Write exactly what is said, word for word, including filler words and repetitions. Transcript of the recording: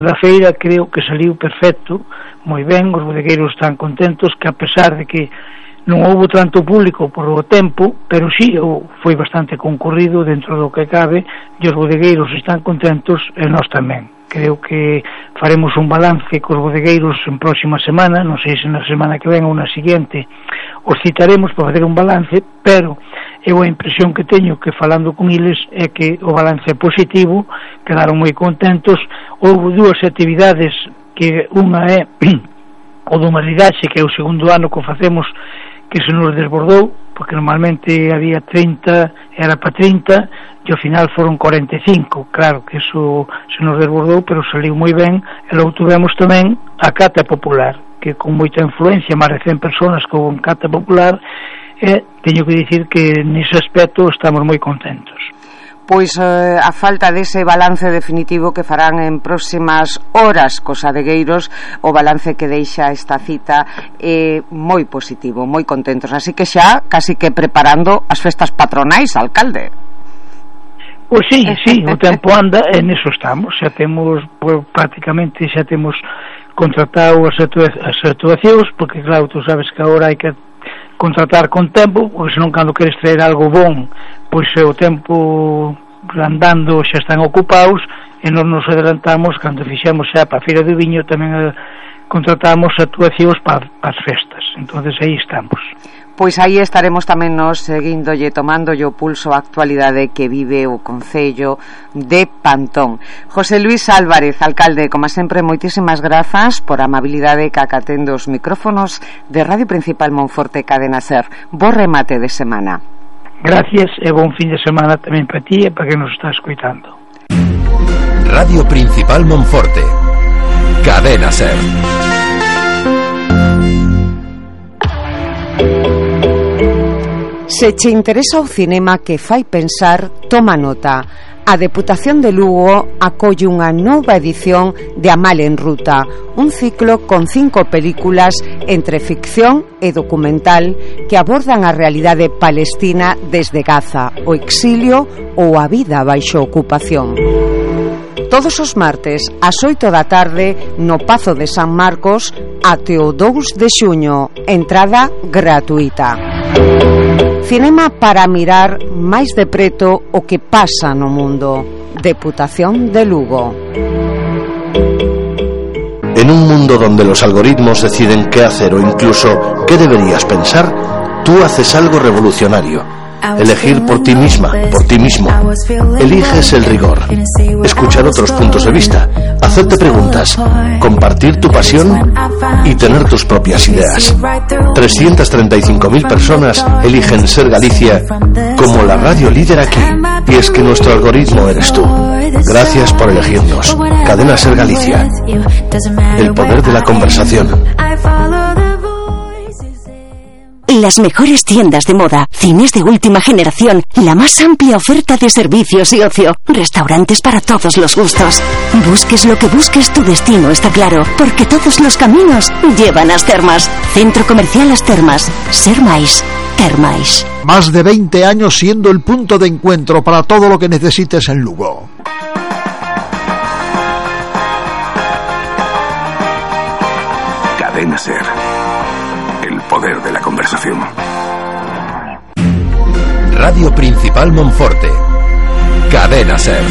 Da feira creo que saliu perfecto, moi ben, os bodegueiros están contentos, que a pesar de que non houve tanto público por o tempo, pero sí, foi bastante concurrido dentro do que cabe, e os bodegueiros están contentos e nós tamén. Creo que faremos un balance cos bodegueiros en próxima semana, non sei se na semana que ven ou na seguinte os citaremos para fazer un balance, pero eu a impresión que teño que falando con eles é que o balance é positivo, quedaron moi contentos. Houve dúas actividades, que unha é o do maridaxe, que é o segundo ano que o facemos, que se nos desbordou, porque normalmente había trinta, era para trinta, e ao final foron cuarenta e cinco. Claro que eso se nos desbordou, pero saliu moi ben. E logo tuvemos tamén a cata popular, que con moita influencia, máis de cen personas con cata popular, e teño que dicir que nese aspecto estamos moi contentos. Pois eh, a falta dese balance definitivo que farán en próximas horas cos adegueiros, o balance que deixa esta cita é moi positivo, moi contentos, así que xa casi que preparando as festas patronais, alcalde. Pois sí, sí, o tempo anda, e neso estamos, xa temos, pues, prácticamente xa temos contratado as, atua- as actuacións, porque claro, tú sabes que agora hai que contratar con tempo, porque senón cando queres traer algo bon, pois o tempo andando xa están ocupados, e non nos adelantamos. Cando fixemos xa para a Feira do Viño tamén eh, contratamos actuacións para, para as festas, entonces aí estamos. Pois aí estaremos tamén nos seguíndolle, tomándolle o pulso a actualidade que vive o concello de Pantón. José Luis Álvarez, alcalde, como sempre, moitísimas grazas por a amabilidade que acatendo os micrófonos de Radio Principal Monforte Cadena Ser. Bo remate de semana. Gracias e bon fin de semana tamén para ti e para que nos está escoitando. Radio Principal Monforte Cadena Ser. Se che interesa o cinema que fai pensar, toma nota. A Deputación de Lugo acolle unha nova edición de Amal en Ruta, un ciclo con cinco películas entre ficción e documental que abordan a realidade palestina desde Gaza, o exilio ou a vida baixo ocupación. Todos os martes ás oito da tarde no Pazo de San Marcos até o dous de xuño, entrada gratuita. Cinema para mirar máis de preto o que pasa no mundo. Deputación de Lugo. En un mundo donde los algoritmos deciden qué hacer o incluso qué deberías pensar, tú haces algo revolucionario. Elegir por ti misma, por ti mismo. Eliges el rigor, escuchar otros puntos de vista, hacerte preguntas, compartir tu pasión y tener tus propias ideas. trescientas treinta y cinco mil personas eligen Ser Galicia como la radio líder aquí. Y es que nuestro algoritmo eres tú. Gracias por elegirnos. Cadena Ser Galicia. El poder de la conversación. Las mejores tiendas de moda, cines de última generación, la más amplia oferta de servicios y ocio, restaurantes para todos los gustos. Busques lo que busques, tu destino está claro, porque todos los caminos llevan a As Termas. Centro Comercial As Termas. Ser máis, ter máis. Más de veinte años siendo el punto de encuentro para todo lo que necesites en Lugo. Cadena Ser. Poder de la conversación. Radio Principal Monforte Cadena Ser.